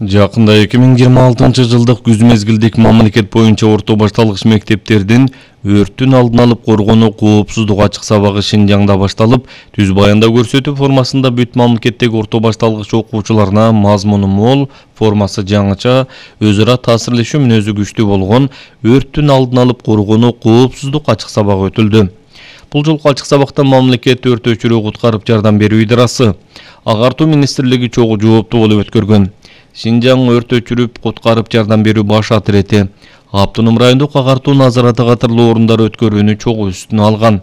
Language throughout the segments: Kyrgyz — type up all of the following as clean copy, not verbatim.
Жакында 2026-жылдык күз мезгилдик мамлекет боюнча орто башталгыч мектептердин өрттүн алдын алып коргонуу коопсуздук ачык сабагы Шинжаңда башталып, түз баянда көрсөтүү формасында бүт мамлекеттеги орто башталгыч окуучуларына мазмуну мол, формасы жаңыча, өз ара таасирлешүү мүнөзү күчтүү болгон өрттүн алдын алып коргонуу коопсуздук ачык сабагы өтүлдү. Бул жолку ачык сабакта мамлекет өрт өчүрүү куткарып жардам берүү идарасы, агартуу министрлиги чогуу жооптуу болуп өткөргөн. Шинжаң өрт өчүрүп куткарып жардам берүү баш атирети, Автоном райондук агартуу назараты катарлуу орундар өткөрүүнү чогуу үстүнө алган.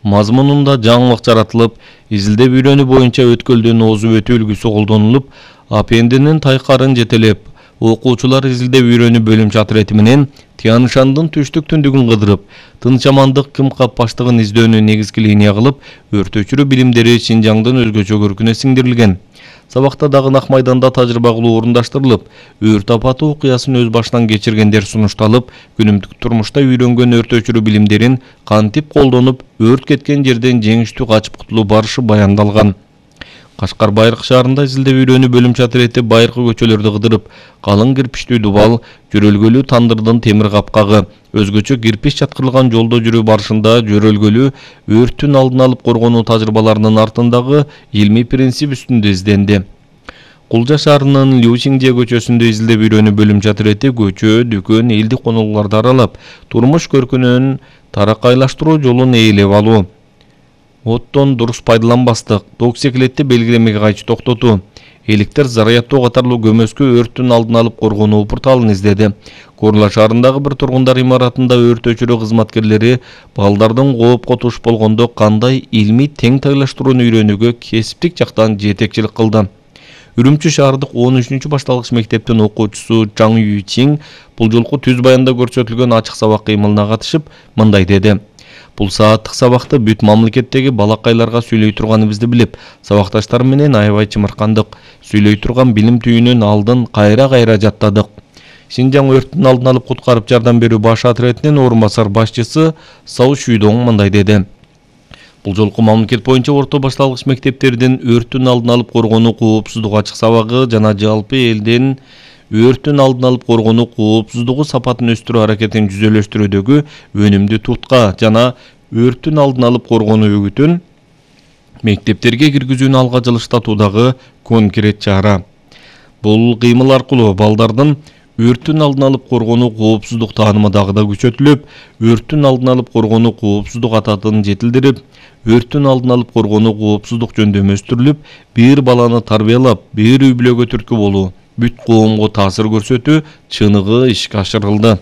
Мазмунунда жаңылык жаратылып, изилдеп үйрөнүү боюнча өткөлдүн озуп өтүү үлгүсү колдонулуп, АПНдин тайкарын жетелеп, окуучулар изилдеп үйрөнүү бөлүмчө атирети менен Тянь-Шандын түштүк түндүгүн кыдырып, тынчамандык кымкап баштыгын издөөнү негизги линия кылып, өрт өчүрүү билимдери Шинжаңдын өзгөчө көркүнө сиңдирилген. Сабакта дагы Ак майданда тажрыйба кылуу орундаштырылып, өрт апаты окуясын өз башынан кечиргендер сунушталып, күнүмдүк турмушта үйрөнгөн өрт өчүрүү билимдерин кантип колдонуп, өрт кеткен жерден жеңиштүү качып кутулуу барышы баяндалган. Кашкар Байыркы шаарында изилдеп үйрөнүү бөлүмчө атирети байыркы көчөлөрдү кыдырып, калың кирпичтүү дубал, жөрөлгөлүү тандырдын темир капкагы, өзгөчө кирпич жаткырылган жолдо жүрүү барышында жөрөлгөлүү өрттүн алдын алып коргонуу тажрыйбаларынын артындагы илмий принцип үстүндө изденди. Кулжа шаарынын Лючиңже көчөсүндө изилдеп үйрөнүү бөлүмчө атирети көчө, дүкөн, элдик конолуктарды аралап, турмуш көркүнөн таракайлаштыруу жолун ээлеп алуу. Оттон дурус пайдаланбастык, токсиклетти белгилемеге кайчы токтотуу, электр зарядтоо катарлуу көмөскө өрттүн алдын алып коргонуу порталын издеди. Корла шаарындагы бир тургундар имаратында өрт өчүрүү кызматкерлери балдардын коопко туш болгондо кандай илмий тең тайлаштырууну үйрөнүүгө кесиптик жактан жетекчилик кылды. Үрүмчү шаардык 13-башталгыч мектептин окуучусу Чаң Юйчин бул жолку түз баянда көрсөтүлгөн ачык сабак кыймылына катышып, мындай деди. Бул сааттык сабакты бүт мамлекеттеги балакайларга сүйлөй турганыбызды билип, сабакташтар менен аябай чымыркандык. Сүйлөй турган билим түйүнүн алдын кайра жаттадык. Шинжаң өрттүн алдын алып куткарып жардам берүү баш атиретинин орун басар башчысы Сау Шүйдоң мындай деди. Бул жолку мамлекет боюнча орто башталгыч мектептердин өрттүн алдын алып коргонуу коопсуздук ачык сабагы жана жалпы элдин өрттүн алдын алып коргонуу коопсуздугу сапатын өстүрүү аракетин жүзөлөштүрүүдөгү өнүмдүү тутка жана өрттүн алдын алып коргонуу үгүтүн мектептерге киргизүүнү алга жылыштатуудагы конкрет чара. Бул кыймыл аркылуу балдардын өрттүн алдын алып коргонуу коопсуздук таанымы дагы да күчөтүлүп, өрттүн алдын алып коргонуу коопсуздук ататын жетилдирип, өрттүн алдын алып коргонуу коопсуздук жөндөмү өстүрүлүп, бир баланы тарбиялап, бир үй бүлөгө түрткү болуу, бүт коомго таасир көрсөтүү чыныгы ишке ашырылды.